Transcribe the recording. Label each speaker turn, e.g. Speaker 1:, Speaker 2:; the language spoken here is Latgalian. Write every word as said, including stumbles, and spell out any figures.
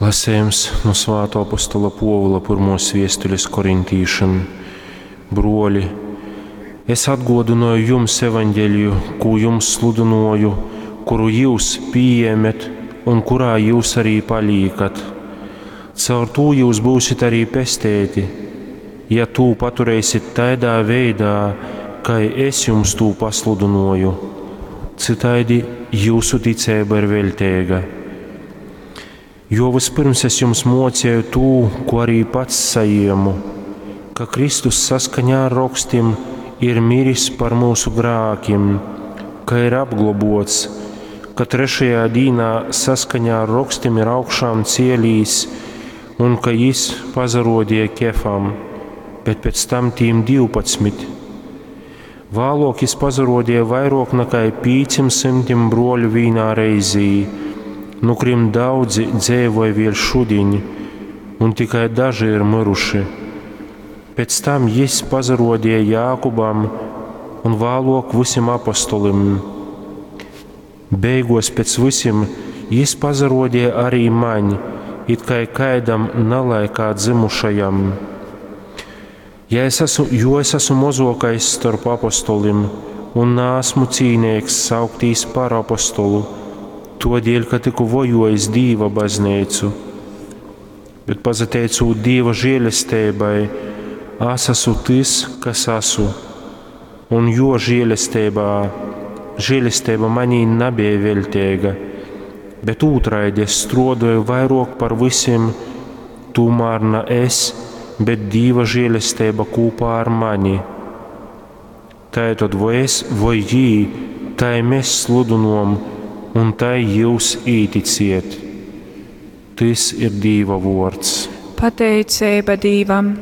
Speaker 1: Lasejums nu Svātō apostola Pōvula pyrmōs viestulis korintīšim. Bruoli, es atguodynoju jums Evangeliju, kū jums sludynuoju, kuru jyus pījēmet un kurā jyus arī palīkat. Caur tū jyus byusit arī pesteiti, ja tū paturēsit taidā veidā, kai es jums tū pasludynuoju. Cytaidi jyusu ticeiba ir veļteiga. Jo vyspyrms es jums muocēju tū, ko arī pats sajiemu, ka Kristus saskaņā ar rokstim ir miris par myusu grākim, ka ir apglobuots, ka trešajā dīnā saskaņā ar rokstim ir augšām cielīs un ka jis pasaruodīja Kefam, bet pēc tam tīm divpadsmit. Vāluok jis pasaruodīja vairuok nakai pīcim symtim bruoļu vīnā reizī, nu kurim daudzi dzeivoj vēļ šudiņ, un tikai daži ir myruši. Pēc tam jis pasaruodīja Jākubam un vāluok vysim apostolim. Beiguos pēc vysim jis pasaruodīja arī maņ, it kai kaidam nalaikā dzymušajam. Ja es esmu, jo es esmu mozuokais storp apostolim un naesmu cīneigs sauktīs par apostolu, tuodēļ, ka tyku vojuojis Dīva bazneicu. Bet pasateicūt Dīva žielesteibai, es esmu tys, kas esmu, un jo žielesteibā, žielesteiba manī nabeja veļteiga, bet ūtraidi es struoduoju vairuok par vysim, tūmār na es, bet Dīva žielesteiba kūpā ar mani. Taitod voi es, voi jī, tai mes sludynuom, un tai jyus īticiet. Tys ir Dīva vuords.
Speaker 2: Pateiceiba Dīvam!